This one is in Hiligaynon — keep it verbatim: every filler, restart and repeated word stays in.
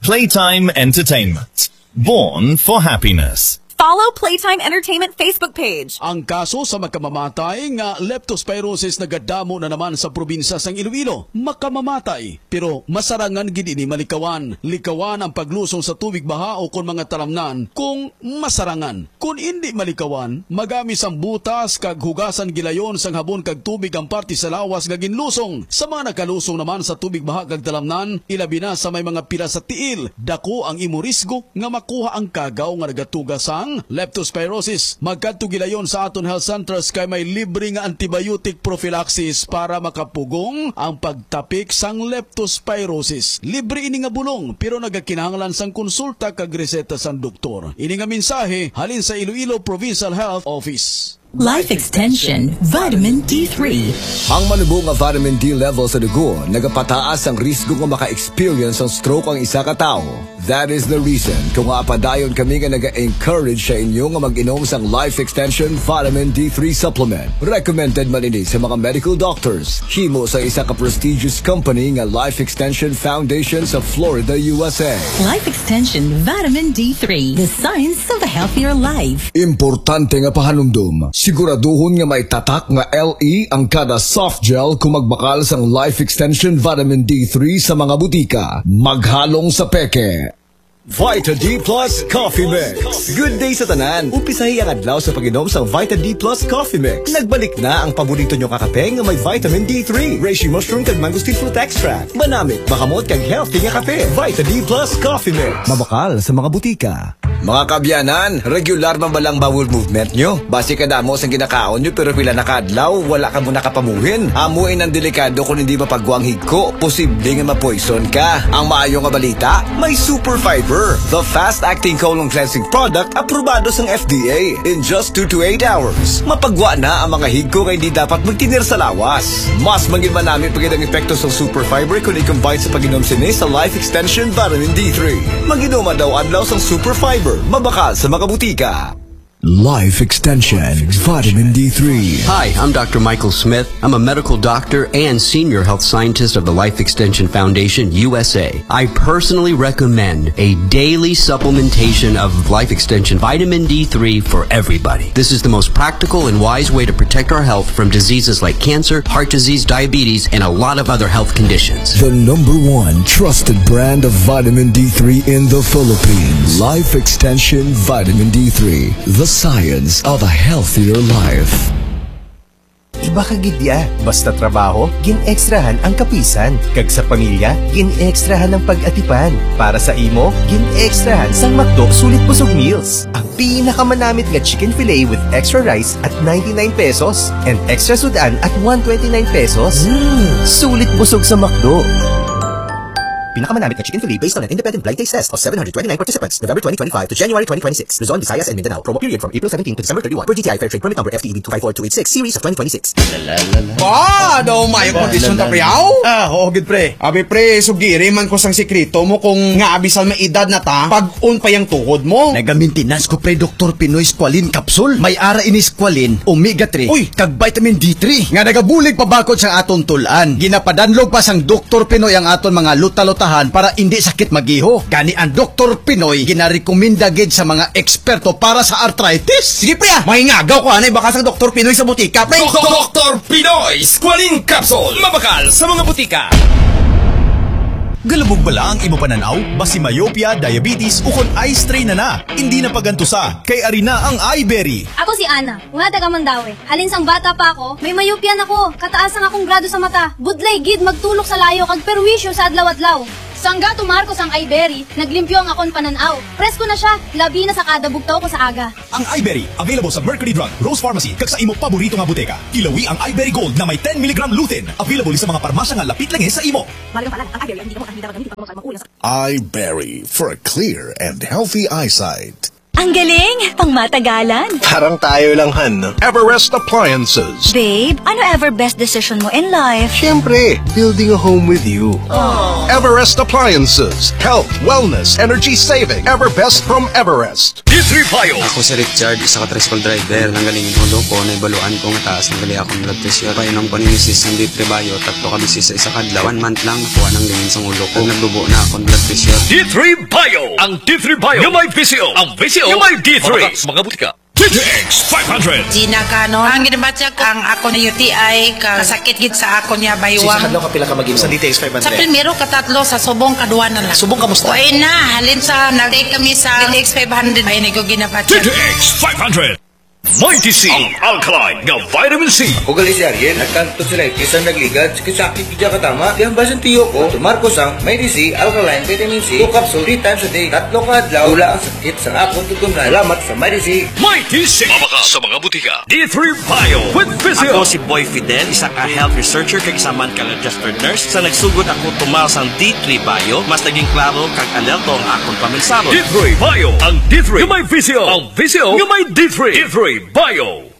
Playtime Entertainment. Born for happiness. Follow Playtime Entertainment Facebook page. Ang kaso sa makamamatay nga leptospirosis nagadamo na naman sa probinsya sang Iloilo. Makamamatay, pero masarangan gid ini malikawan. Likawan ang paglusong sa tubig baha o kon mga talamnan kung masarangan. Kon indi malikawan, magamis ang butas kag hugasan gilayon sang habon kag tubig ang parte sa lawas nga ginlusong. Sa mga nakalusong naman sa tubig baha kag talamnan, ilabi na sa may mga pila sa tiil, dako ang imo risgo nga makuha ang kagaw nga nagatuga sang leptospirosis. Magkadto gilayon sa aton health centers kay may libre nga antibiotic prophylaxis para makapugong ang pagtapik sang leptospirosis. Libre ini nga bulong, pero nagakinahanglan sang konsulta kag reseta sang doktor. Ini nga mensahe halin sa Iloilo Provincial Health Office. Life Extension Vitamin D three. Ang manubo nga vitamin D level sa dugo nagapataas ang risgo nga maka-experience sang stroke ang isa ka tawo. That is the reason kung nga padayon kami nga naga-encourage sa inyo nga mag-inom sang Life Extension Vitamin D three Supplement. Recommended man ini sa mga medical doctors. Himo sa isa ka prestigious company nga Life Extension Foundation sa Florida, U S A. Life Extension Vitamin D three, the science of a healthier life. Importante nga pahanumdom, siguraduhon nga may tatak nga L E ang kada soft gel kung magbakal sang Life Extension Vitamin D three sa mga butika. Maghalong sa peke. Vita D plus Coffee Mix. Good day sa tanan. Umpisahi ang adlaw sa pag-inom sa Vita D plus Coffee Mix. Nagbalik na ang paborito nyo nga kape nga may vitamin D three, reishi mushroom kag mangosteen fruit extract. Manamit, mahamot kag healthy nga kape. Vita D plus Coffee Mix. Mabakal sa mga butika. Mga kaabyanan, regular man ba lang bowel movement nyo? Basi kadamo sang ginakaon nyo pero pila na ka adlaw, wala kamo nakapamuhin. Amo inang delikado kon hindi mapagwa ang higko. Posible nga ma-poison ka. Ang maayo nga balita, may Super Fiber, the fast-acting colon cleansing product aprobado sang F D A. In just two to eight hours, mapagwa na ang mga higko nga hindi dapat magtinir sa lawas. Mas manginmanami pa gid ang epekto sang Super Fiber kon i-combine sa pag-inom sini sa Life Extension Vitamin D three. Mag-inom adlaw-adlaw sang Super Fiber, mabakal sa mga butika. Life Extension Vitamin D three. Hi, I'm Doctor Michael Smith. I'm a medical doctor and senior health scientist of the Life Extension Foundation, U S A. I personally recommend a daily supplementation of Life Extension Vitamin D three for everybody. This is the most practical and wise way to protect our health from diseases like cancer, heart disease, diabetes, and a lot of other health conditions. The number one trusted brand of vitamin D three in the Philippines. Life Extension Vitamin D three, the science of a healthier life. Iba ka gid ya. Basta trabaho, gin-extrahan ang kapisan. Kag sa pamilya, gin-extrahan ang pag-atipan. Para sa imo, gin-extrahan sang McDo Sulit Busog Meals. Ang pinakamanamit nga chicken fillet with extra rice at ninety-nine pesos and extra sud-an at one twenty-nine pesos. Mm, sulit busog sa McDo. Pinakamanamit nga chicken fillet based on an independent blind taste test of seven hundred twenty-nine participants, November twenty twenty-five to January twenty twenty-six. Luzon, Visayas, and Mindanao. Promo period from April seventeen to December thirty-one, per D T I Fair Trade Permit Number F T E B two five four two eight six, series of twenty twenty-six. Ba, daw mayo kondisyon ta, pre, aw? Ah, oo, gid, pre. Abi, pre, sugiri man ko sang sikreto mo kung nga bisan may edad na ta, pag-on pa yang tuhod mo. Nagamentenas ko, pre, Doktor Pinoy Squalene Capsule. May ara ini Squalene, Omega three, uy, kag Vitamin D three nga nagabulig pabakod sa aton tul-an. Ginapadanlog pa sang Doktor Pinoy ang aton mga luta-lutahan para indi sakit mag-iho. Gani ang Doktor Pinoy ginarekomenda gid sa mga eksperto para sa arthritis. Sige, pre, ah. Mahingagaw ko anay baka sang Doktor Pinoy sa butika, pre. Doktor Pinoy Squalene Capsule. Mabakal sa mga butika. Galubog bala ang imo panan-aw? Basi myopia, diabetes, ukon eye strain na na. Hindi na pagantusa, kay ari na ang iBerry. Ako si Ana, nga taga Mandaue. Halin sang bata pa ako, may myopia na ko. Kataas ang akong grado sa mata. Budlay gid magtulok sa layo kag perwisyo sa adlaw-adlaw. Sangga tumar ko sang iBerry, naglimpyo ang akon panan-aw. Presko na siya, labi na sa kada bugtaw ko sa aga. Ang iBerry, available sa Mercury Drug, Rose Pharmacy, kag sa imo paborito nga botega. Ilawi ang iBerry Gold na may ten milligram lutein. Available sa mga parmasya nga lapit lang sa imo. Mahalagang paalala, ang iBerry ay hindi gamot at hindi dapat gamitin pag mga mag-uwi sa iBerry for a clear and healthy eyesight. Ang galing! Pangmatagalan! Parang tayo lang, Han, no? Everest Appliances. Babe, ano ever best decision mo in life? Siyempre, building a home with you. Everest Appliances. Health, wellness, energy saving. Everbest from Everest. D three Bio. Ako si Richard, isa ka tricycle driver. Nanggaling ang ulo ko, naibaluan ko nga taas na gali akong blood pressure. Painom ko ni misis ng D three Bio, tatlo ka beses sa isa ka adlaw. One month lang, nakuha ng lingin sa ulo ko. Naglubo na akong blood pressure. D three Bio. Ang D three Bio nga may visyo. Ang visyo nga may D three. Sa mga butika. D T X five hundred. Gina Canon. Ang ginabatyag ang ako na U T I ka sakit gid sa ako niya Sa baywang. Kadlaw ka pila ka mag-inom? Sa D T X five hundred. Sa primero ka tatlo, sa subong kadwa na lang. Subong kamusta? Way na, halin sa nag-take kami sa D T X five hundred. Ay, nigo ginabatyag. D T X five hundred. Mighty C. Ang alkaline nga vitamin C. Ako gali si Ariel, nagkang tonsillitis ang nagligad, sakit-sakit gid katama. Di ang basin tiyo ko, tumar ko sang Mighty C, alkaline vitamin C, two capsule, three times a day, tatlo ka adlaw, wala ang sakit sa akong tutunlan. Salamat sa Mighty C. Mighty C. Mabaka sa mga butika. D three Bio with Visyo. Ako si Boy Fidel, isa ka health researcher kag isa man ka registered nurse. Sa nagsugod ako tumal sang D three Bio, mas naging klaro kag alerto ang akon pamensahon. D three Bio. Ang D three nga may visyo. Ang visyo nga may D three. D three Bio.